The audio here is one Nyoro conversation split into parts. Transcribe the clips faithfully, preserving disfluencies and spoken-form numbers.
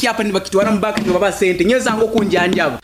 Kyapa nibakitwara mu banka nibaba sente nyezango kunjanjaba.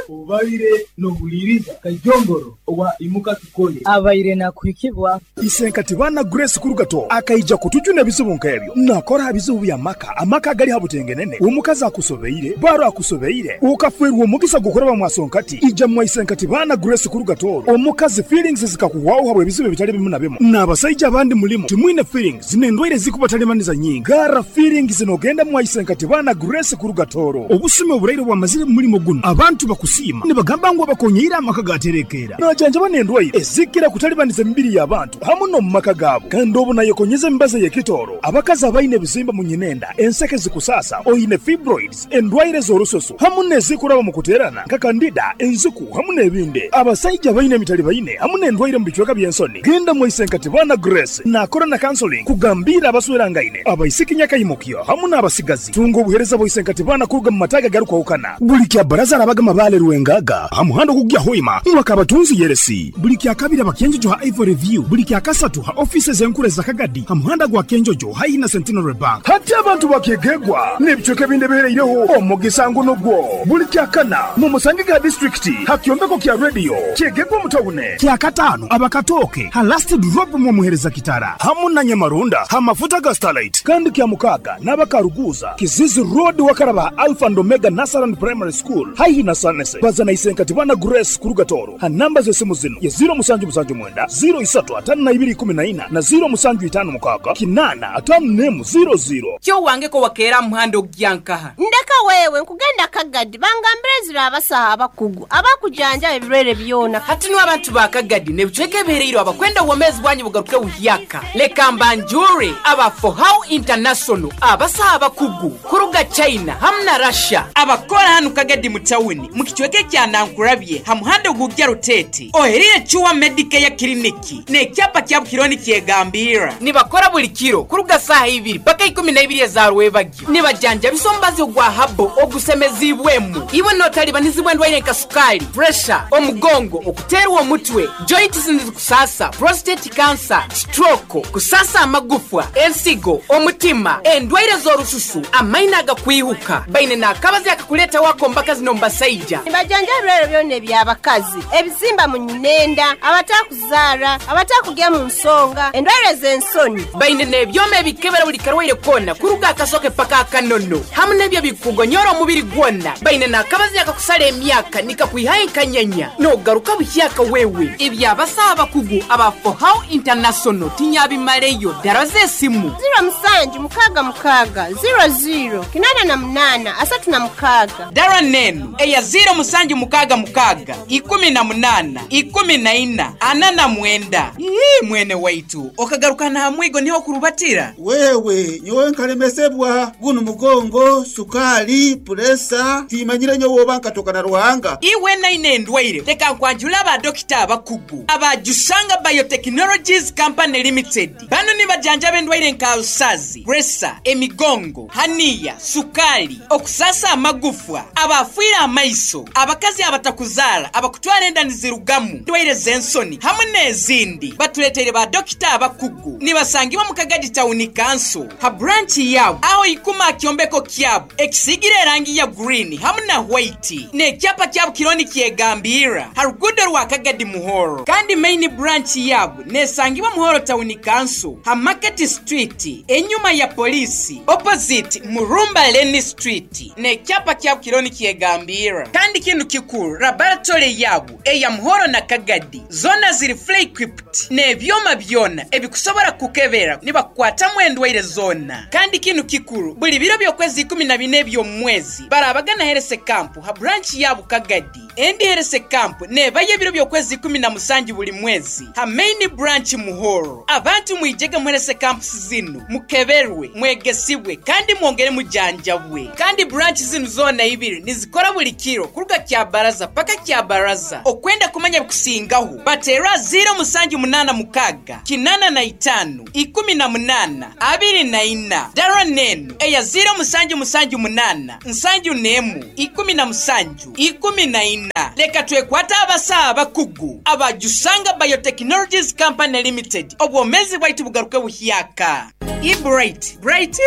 Obaire nohuliriza Kajongoro owa imuka tukole abaire nakuhikibwa Isenkati bana Grace Kurugato akaija kutujuna ebizibu nk'ebyo nakora bizibu bya maka amaka gali habutengenene omukazi akusobeire baro akusobeire ukafwerwa omugisa gukoraba mwasonkati ija mwa Isenkati bana Grace Kurugato omukazi feelings zikakuwaho habwe ebizibu bitali bimu na bimu n'abasajja abandi mulimu timwine feelings n'endwaire zikubatalemaniza nyingi gara feelings nogenda mwa Isenkati bana Grace Kurugatoro obusime oburaire bwamazire mulimo guno abantu bakusima nibagamba ngu abakonyeira amaka gaterekera najanjaba n'endwaire ezikira kutalibaniza emibiri y'abantu hamu no mu maka gaabo kandi obu nayekonyeza emibazi y'ekitoro abakazi abaine ebizimba mu nyinenda enseke zikusasa oyine fibroids endwaire z'orusoso hamu n'ezikuraba mu kuterana nka kandida enziku hamu n'ebindi abasajja abaine emitali baine hamu n'endwaire mu bicweka by'ensoni genda mu Isenkati bana Grace nakora na counseling kugambira abaswerangaine abaisiki nyakayimukyo hamu n'abasigazi tunga obuhereza bwa Isenkati bana kuruga mu mataga garukwahukana buli kya baraza arabagama bale Rwengaga hamuhando kugya hoima mwakabatunzi yeresi buli kya kabiri abakenjojo ha Ivory View buli kya kasatu ha offices enkure za Kagadi hamuhanda gwa Kenjojo hayi na Centenary Bank hati abantu bakegegwa n'ebicweka ebindi bihereireho omugisa nguno gwo buli kya kana mu Musangiga district hakyombeko kya radio kyegegwa mutawune kya katano abakatoke ha last drop mu muhereza kitara hamu na Nyamarunda ha mafuta ga Starlight kandi kya mukaga n'abakaruguza Kizizi Road wakaraba Alpha and Omega Nasaran Primary School hayi na Sanese bazana Isenkati bana Grace Kurugatoro ha namba z'esimu zino ya zero musanju musanju mwenda zero isatu atano na ibiri kumi na ina na zero musanju itano mukaga kinana atano nemu zero zero kyo wange ko wakera muhando gyankaha ndeka wewe nkugenda Kagadi bangambire zira abasaha abakugu abakujanja ebirwere byona hati no abantu ba Kagadi nebicweke bihereiro abakwenda uwomezi bwanyu bugaruke buhyaka leka mbanjure aba For How International abasaha abakugu kuruga China hamna Russia abakora hanu Kagadi mu tawuni mu kicweke kya Nankurabye hamuhando gugya Rutete oherire chuwa Medicare kliniki ne kyapa kya Bukironi kyegambira nibakora buli kiro kuruga saha ibiri paka ikumi na ibiri za rwebagyo nibajanja bisombazi gwa habo ogusemezibwemu iwe notalibanizibwe ndwaire nka sukali pressure omugongo okuterwa omutwe joints kusasa prostate cancer stroke kusasa amagufwa ensigo omutima endwaire z'orususu amaina agakwihuka baine nakabazi akakuleta wako mbaka zino mbasaija nibajanja ebirwere byona eby'abakazi ebizimba mu nyinenda abatakuzara abatakugya mu nsonga endwaire z'ensoni baine n'ebyoma ebikebera buli karwaire kona kuruga akasoke paka akanono hamu n'ebyo bikugonyora omubiri gwona baine nakabazi akakusala emyaka nikakwihaye nkanyanya nogaruka buhyaka wewe ebyabasaha abakugu aba For How International tinyabimaleyo dara z'esimu zero musanju mukaga mukaga zero zero kinana na munana asatu na mukaga dara nenu eya zero musanju mukaga mukaga ikumi na munana ikumi na ina ana na mwenda Ii, mwene waitu okagaruka na hamwigo niho kurubatira wewe nyowe nkalemesebwa guno mugongo sukali puresa timanyire nyowe oba nkatoka na Ruhanga iwe naine endwaire leka nkwanjula aba dokita abakugu abajusanga Biotechnologies Company Limited bano nibajanja b'endwaire nka usazi presa emigongo haniya sukali okusasa amagufwa abafuira amaiso abakazi abatakuzala abakutwara enda nizirugamu ndwaire z'ensoni hamwe n'ezindi batuleteire ba dokita abakugu nibasangibwa mu Kagadi Town Council ha branch yabo aho ikuma kyombeko kyabo ekisigire erangi ya green hamwe na white n'ekyapa kyabo kironi kyegambira ha rugudo rwa Kagadi Muhoro kandi main branch yabo nesangibwa Muhoro Town Council ha Market Street enyuma ya polisi opposite Murumba Lane Street n'ekyapa kyabo kironi kyegambira kandi kintu kikuru laboratory yabo eya Muhoro na Kagadi zona ziri fully equipped n'ebyoma byona ebikusobora kukebera nibakwatamu endwaire zona kandi kintu kikuru buli biro by'okwezi ikumi na bine by'omwezi barabagana herese kampu ha branch yabo Kagadi endi herese kampu nebaye ebiro by'okwezi ikumi na musanju buli mwezi ha main branch Muhoro abantu mwijege muherese kampu zinu mukeberwe mwegesibwe kandi mwongere mujanjabwe kandi branch zinu zona ibiri nizikora buli kiro. Kuruga kya baraza paka kya baraza. Okwenda kumanya bikusingaho baterwa ziro musanju munana mukaga kinana na itano ikumi na munana abiri na ina. Dara nenu eya ziro musanju musanju munana nsanju nemu ikumi na musanju ikumi na ina. Leka twekwata abasaa abakugu abajusanga Biotechnologies Company Limited obwomezi bwaitu bugaruke buhyaka. I bright bright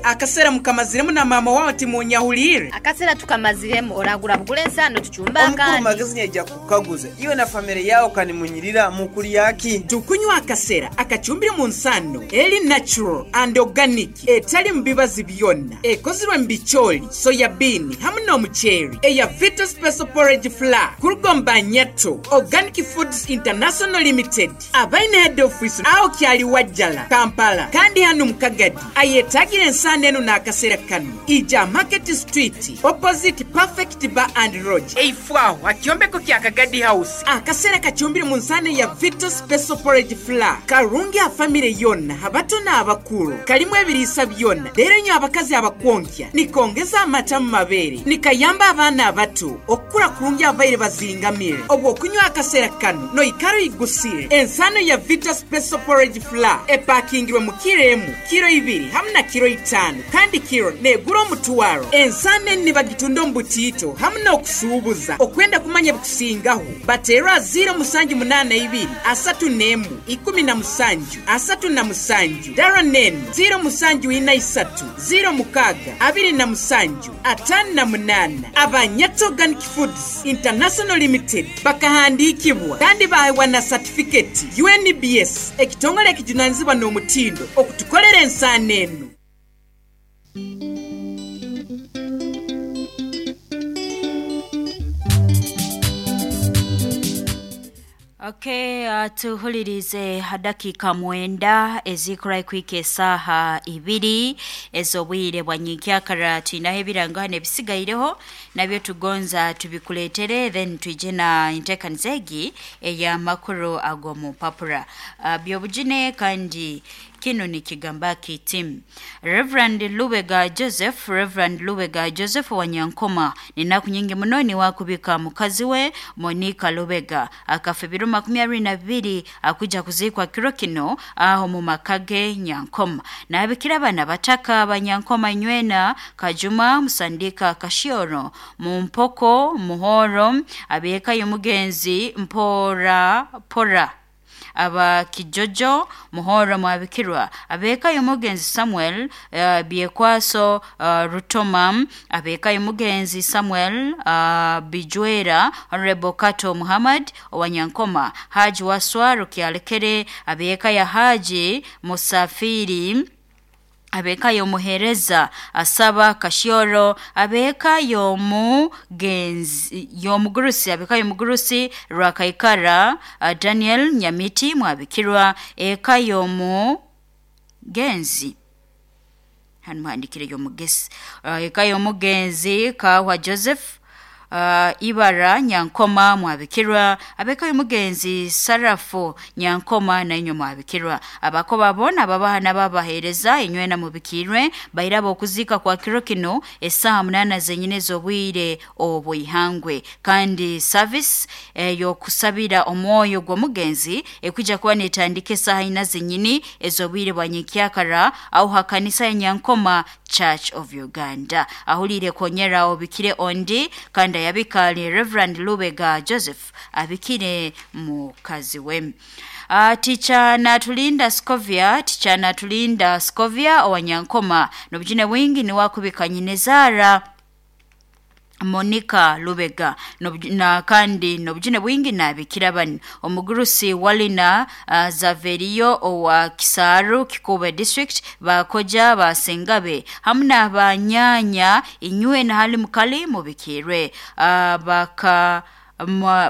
akasera mukamaziremu na mama wao timunyahulire akasera tukamaziremu oragura bugule ensano tuchumba Omukuru kandi magezi nyaija kukaguza iwe na family yao kanimunyirira mukuli yaki tukunywa akasera akachumbire mu nsano eri natural and organic etali mbibazi byonna ekozirwe mbicholi soya bean hamwe n'omuceeri eya Vita Special Porridge Flour kurugomba nyato Organic Foods International Limited abaine head office aho kyali Wajjala Kampala kandi hano mukagadi ayetagire ensano eno n'akasera kano ija Market Street opposite Perfect Bar and Lodge eifwaho akyombeko kya Kagadi House. Akasera kachumbire mu nsano ya Vita Special Porridge Flour karungi a family yonna abato n'abakulu kalimu ebiriisa byonna leero nyo abakazi abakwonkya nikongeza amata mu mabeere nikayamba abaana abato okukula kurungi abaire bazingamire obwo okunywa akasera kano noikaro igusire. Ensano ya Vita Special Porridge Flour epakingirwe mu kiro emu kiro ibiri hamwe na kiro itano kandi kiro negura omutwaro. Ensano eni bagitunda omu butiito hamwe n'okusuubuza. Okwenda kumanya bikusingaho baterwa ziro musanju munana ibiri asatu nemu ikumi na musanju asatu na musanju. Dara nenu ziro musanju ina isatu ziro mukaga abiri na musanju atano na munana. Abanyato Organic Foods International Limited bakahandikibwa kandi bahewa na certificate U N B S ekitongole ekijunanizibwa n'omutindo okutukolera ensano eno. Okay, uh, tuhulirize dakika mwenda ezikora kwike esaha ibiri ezobwire bwa nyikyakara tuinaho ebirango hano ebisigaireho nabyo tugonza tubikuletere then twije na intekaniza egi ey'amakuru ago mu papura. uh, byobujine kandi kino ni kigamba kiti Reverend Lubega Joseph Reverend Lubega Joseph wa Nyankoma ni naku nyingi muno ni wakubika mukazi we Monica Lubega akafa ebiro makumi abiri na bibiri akuja kuzikwa kiro kino aho mu makage Nyankoma nabikira abana bataka abanyankoma nywena Kajuma Musandika Kashioro Mumpoko Muhoro abeka y'umugenzi Mpora Pora aba Kijojo Muhoro mwabikirwa abeka y'umugenzi Samuel uh, Biekwaso uh, Rutoma abeka y'umugenzi Samuel uh, Bijwera Honorable Kato Muhammad Owanyankoma Haji Waswa Rukyalekere abeka ya Haji Musafiri abeka yomuhereza asaba Kashioro abeka yomugenzi yomugurusi abeka yomugurusi Rwakaikara uh, Daniel Nyamiti mwabikirwa eka yomugenzi hano muhandikire yomugesi uh, eka yomugenzi Kahwa Joseph Uh, Ibara Nyankoma mwabikirwa abeka y'umugenzi Sarafu Nyankoma na inyo mwabikirwa abako babona babahana babahereza inywe na mubikirwe bairabo okuzika kwa kiro kino esaha munana zenyine z'obwire obwihangwe kandi service eh, yokusabira omwoyo gw'omugenzi ekuja kuba netandika esaha ina zenyini ez'obwire bwa nyikyakara aho hakanisa ya Nyankoma Church of Uganda ahulire konyera obikire ondi kandi yabikali Reverend Lubega Joseph abikire mukazi we. Uh, ticha Natulinda Scovia ticha Natulinda Scovia owanyankoma nobujine wingi ni wakubika nyinezara Monica Lubega na kandi nobujine bwingi nabikira bani omugurusi walina uh, Zaverio owa Kisaru Kikuba district bakoja basengabe hamna banyanya inywe na hali mukali mubikirwe uh, baka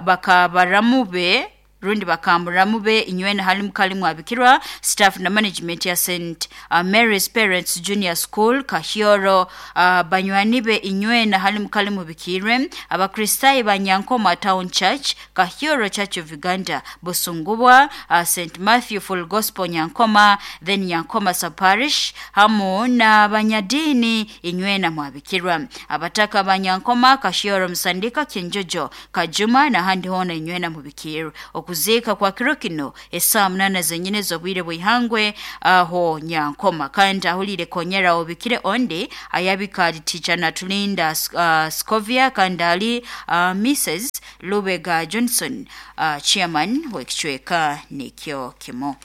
baka baramube Rundi bakamuramu be inywena hali mukali mwabikirwa staff na management ya Saint uh, Mary's Parents Junior School Kahyoro uh, banywani be inywena hali mukali mubikirwe abakristayi banyankoma Town Church Kahyoro Church of Uganda Busungubwa uh, Saint Matthew Full Gospel Nyankoma then Nyankoma Sub Parish hamu na banyadini inywena mwabikirwa abataka banyankoma Kahyoro Msandika Kinjojo Kajuma na handi hona inywena mubikirwe okuzika kwa kiro kino esaa munana zenyine zobwire bwihangwe aho Nyankoma kandi ahulire konyera obikire onde ayabika teacher Natulinda uh, Scovia kandi ali uh, Missus Lubega Johnson uh, chairman wekicweka nikyo kimo.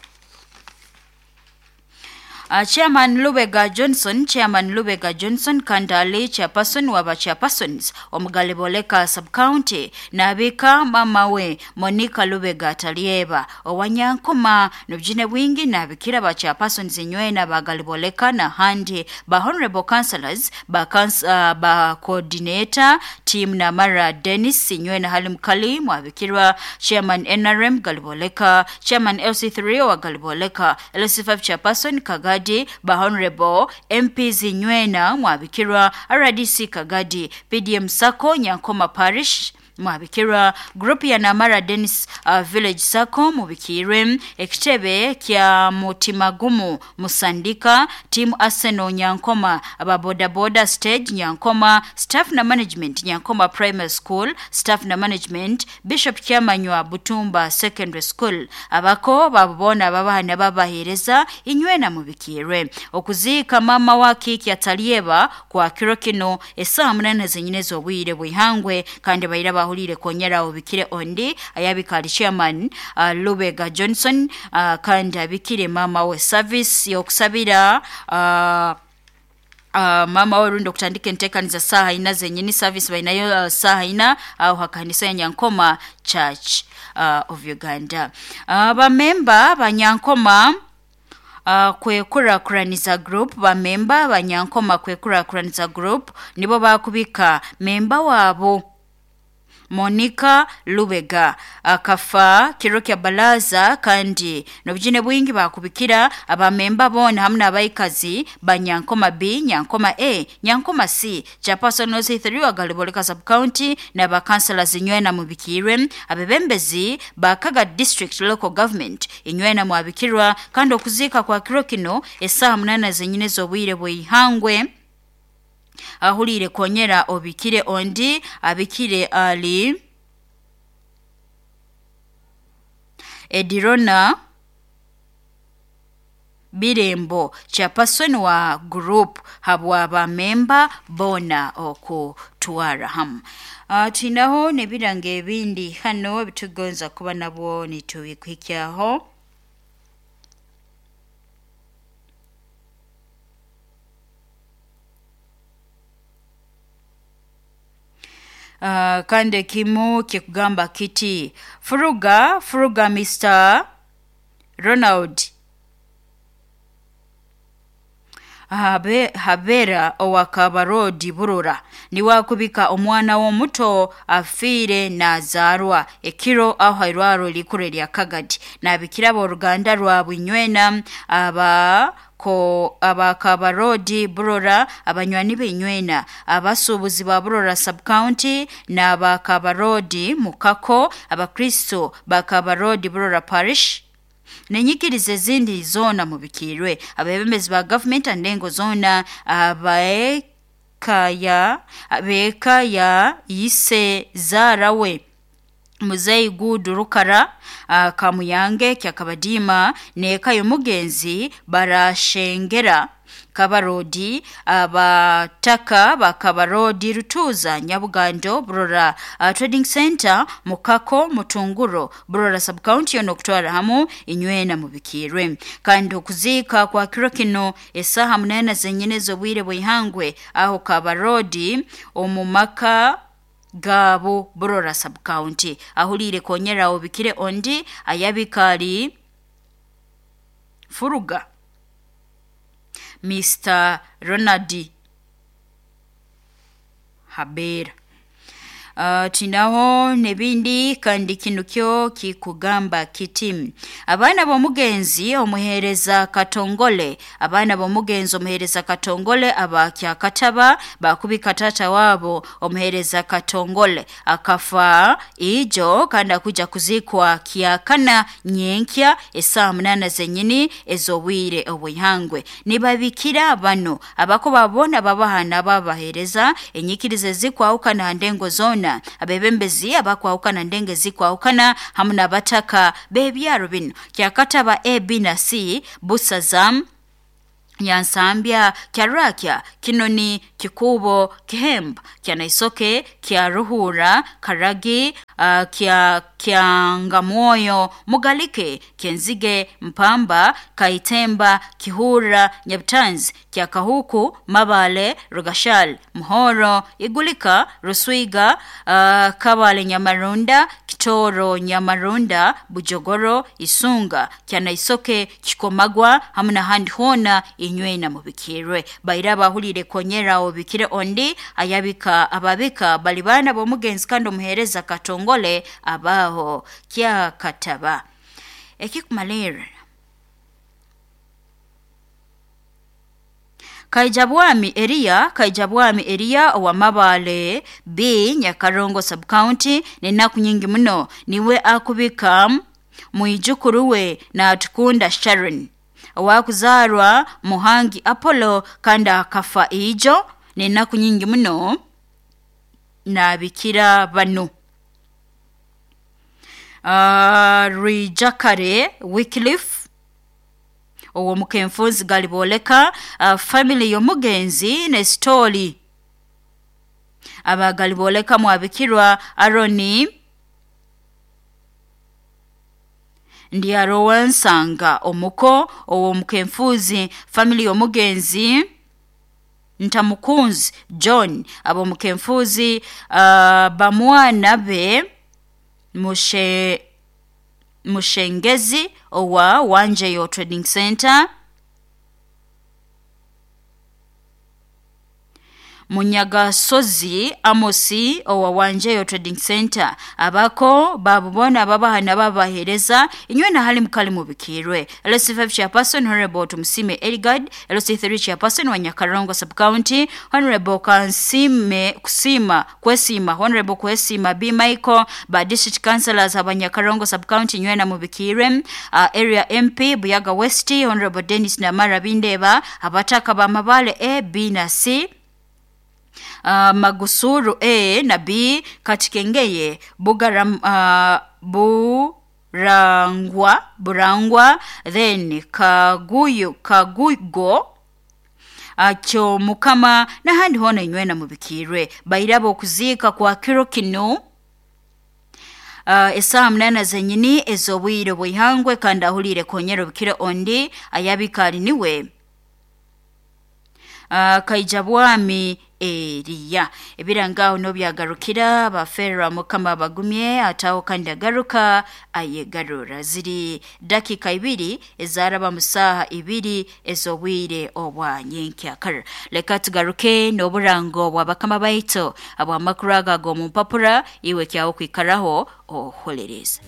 Uh, Chairman Lubega Johnson, Chairman Lubega Johnson Kandali chairperson waba chairpersons omugaliboleka sub-county nabika mama we Monica Lubega Talieba owanyankoma nobjine bwingi nabikira ba chairpersons inywena bagaliboleka na handi ba honorable councillors ba, cons, uh, ba coordinator team na Mara Dennis inywena hali mkali mwabikirwa Chairman N R M Galiboleka, Chairman L C three wa Galiboleka, L C five chairperson Kaga ba Honorable M P Zinywena mwabikirwa R D C Kagadi P D M Sako Nyankoma Parish mwabikirwa group ya Namara Dennis uh, Village Sako mubikirwe ekitebe kya Mutimagumu Musandika team Arsenal Nyankoma aba boda boda stage Nyankoma staff na management Nyankoma Primary School staff na management Bishop Kyamanywa Butumba Secondary School abako babona babahana babahereza inywena mubikirwe okuzika mama wa kiki atalieba kwa kiro kino esaa munana zenyine zobwire bwihangwe kandi bayira bahulire konyera obikire ondi ayabikali chairman uh, Lubega Johnson uh, kandi abikire mama we service yokusabira uh, Uh, mama we rundo kutandika entekaniza saha ina zenyini service bainayo uh, saha ina au uh, hakanisa ya Nyankoma Church uh, of Uganda. Uh, ba member ba Nyankoma Uh, kwekura kuraniza group ba member ba Nyankoma kwekura kuraniza group nibo bakubika member wabo Monica Lubega akafa kiro kya balaza kandi nobujine bwingi bakubikira abamemba bona hamwe n'abayikazi ba Nyankoma B, Nyankoma A, Nyankoma C, chairperson L C three wa Galiboleka sub county na ba councillors inywena mubikirwe abebembezi ba Kaga district local government inywena mwabikirwa kandi okuzika kwa kiro kino esaha munana zenyine zobwire bwihangwe ahulire konyera obikire ondi abikire ali Edirona Birembo chairperson wa group habwa ba member bona okutwara hamu. Uh, tunaho nebirange ebindi hano bitugonza kuba nabwo nitubikikyaho. Uh, kande kimu kikugamba kiti furuga furuga Mister Ronald Habe, Habera owakabarodi burura niwakubika omwana w'omuto afiire nazarwa ekiro aho hairwaro likure lya Kagadi nabikira oruganda rwa Bunywena aba ko abakabarodi burora abanywani benywena abasubuzi ba burora sub county na bakabarodi mukako abakristo bakabarodi burora parish nenyikirize zindi zona mubikirwe abebembezi ba government andengo zona abaekaya abekaya yise zarawe Muzeyi Gudu Rukara uh, Kamuyange kyakabadima neka yomugenzi barashengera Kabarodi abataka bakabarodi Rutuza Nyabugando Burora uh, Trading Center Mukako Mutunguro Burora sub county yono kutwara hamu inywena mubikirwe kandi okuzika kwa kiro kino esaha munana zenyine zobwire bwihangwe aho Kabarodi omumaka gabo Burora sub county ahulire konyera obikire ondi ayabikali furuga Mister Ronald Habera. Uh, tinaho nebindi kandi kino kyo kikugamba kiti abaana b'omugenzi omuheereza Katongole, abaana b'omugenzi omuheereza Katongole abakyakataba bakubika tata wabo omuheereza Katongole akafa ijo kandi akuja kuzikwa kyakana nyenkya esaa munana zenyini ez'obwire obwihangwe. Nibabikira bano abako babona babahana babahereza enyikirizo zikwahukana ndengo zona, abebembezi abakwahukana ndenge zikwahukana hamu n'abataka b'ebyaro bino kyakataba A, B na C, Busazam, Nyansambya, Kyarakya, Kinoni, Kikubo, Kihemba, Kyanaisoke, Kyaruhura, Karagi, uh, Kya Kyangamwoyo, Mugalike, Kenzige, Mpamba, Kaitemba, Kihura, Nyabutanzi, Kyakahuku, Mabale, Rugashal, Muhoro, Igulika, Ruswiga, uh, Kabale Nyamarunda, Kitoro Nyamarunda, Bujogoro, Isunga, Kyanaisoke, Kikomagwa, hamu n'ahandi hoona inywena mubikirwe. Baira bahulire konyera obikire ondi ayabika ababika bali baana b'omugenzi kandi omuheereza Katongole abaho kyakataba. Ekikumalira Kaijabwami Eria, Kaijabwami Eria owa Mabale B Nyakarongo sub-county nenaku nyingi muno niwe akubika mwijukuru we na Atukunda Sharon owakuzarwa Muhangi Apollo kandi akafa ijo nenaku nyingi muno nabikira bano. Uh, Rijakare Wycliffe owo mukenfuzi galiboleka uh, family y'omugenzi ne story abagaliboleka mwabikirwa Aroni Ndiarowansanga omuko owo mukenfuzi family y'omugenzi Ntamukunzi John abo mukenfuzi uh, bamwana be Mushe Mushengezi owa Wanjeyo Trading Center, Munyagasozi Amosi owa Wanjeyo Trading Center abako babubona babahana babahereza inywe na hali mukali mubikirwe. L C five chairperson Honorable Tumusime Eligard, L C three chairperson wa Nyakarongo sub-county Honorable Kansime Kusima Kwesima, Honorable Kwesima B Michael, ba district councillors aba Nyakarongo sub-county inywe na mubikirwe. Uh, area M P Buyaga West Honorable Dennis Namara Bindeba, abataka ba Mabale A, B na C, Uh, Magusuru A na B, Katikengeye, Bugaram, uh, Burangwa, Burangwa, then Kaguyu, Kagugo, Akyo Mukama, n'ahandi hona inywena mubikirwe. Bairabo okuziika kwa kiro kino Uh, esaha munana zenyini ez'obwire bwihangwe kandi ahulire konyera bikire ondi ayabikali niwe Uh, Kaijabwami Eria. Ebirangaho no byagarukira bafera Mukama bagumye ataho kandi agaruka ayegarura. Ziri dakika ibiri ezaraba musaha ibiri ezobwire obwa nyenkyakara. Leka tugaruke n'oburango bwa bakama baito abwa makuru aga go mu mpapura iwe kyawo kwikaraho oholereza.